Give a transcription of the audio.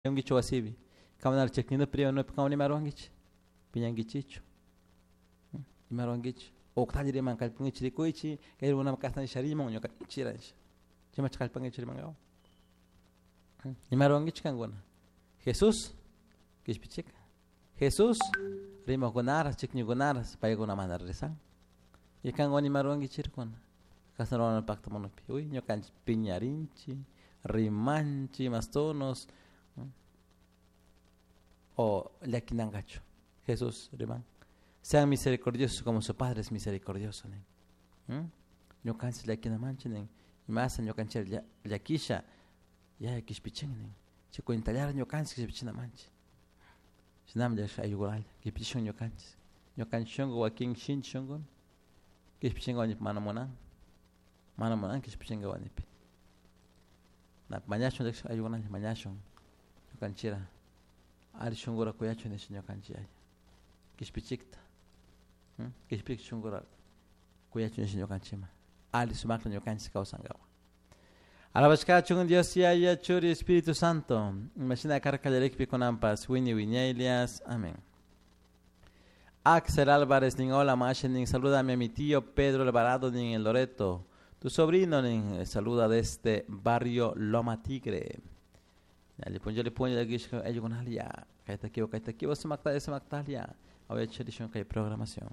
Ungichu wasipi kamunara chikninupi rimanupi kamuna ima ruwankichik piñankichikchu ima ruwankichik uktalla riman kallpankichik rikuychik kay runama kasna nisha riman ñuka chira nisha chaymacha kallpankichik rimankawan ima ruwankichik kankuna Jesús kishpichika Jesús rimakunaras chikñikunaras paykuna mana rezan y kankuna ima ruwankichirkuna kasna ruwana pakta munupi uy ñukanchik piñarinchik rimanchik mas tonos o llakinankachu Jesús riman sean misericordiosos como su padre es misericordioso nin ñukanchik llakinamanchik nin imasa ñukanchik llakisha yaya kishpichin nin chay cuentallara ñukanchik kishpichinamanchik shinami ayukunalla kishpichishun ñukanchik ñukanchik shunku wakin shinchi shunkumi kishpichinka mana munan mana munan kishpichinka wanipi mañashun ayukunalla mañashun ñukanchira alli shunkura kuyachun nisha ñukanchik yaya kishpichikta kishpichik shunkura kuyachun nisha ñukanchikman alli sumakta ñukanchik kawsankapak. Alabashkachun Dios Yaya Churi Espíritu Santo imashina karka kallarikpi kunanpas wiñay wiñaylias. Amén. Axel Álvarez nin hola mashi nin salúdame a mi tío Pedro Alvarado nin el Loreto. Tu sobrino nin saluda desde barrio Loma Tigre. Alli punlla alli punlla llakishka ayllukunalla kayta kiwa kayta kiwa sumakta sumaktalia awecharishun kay programación.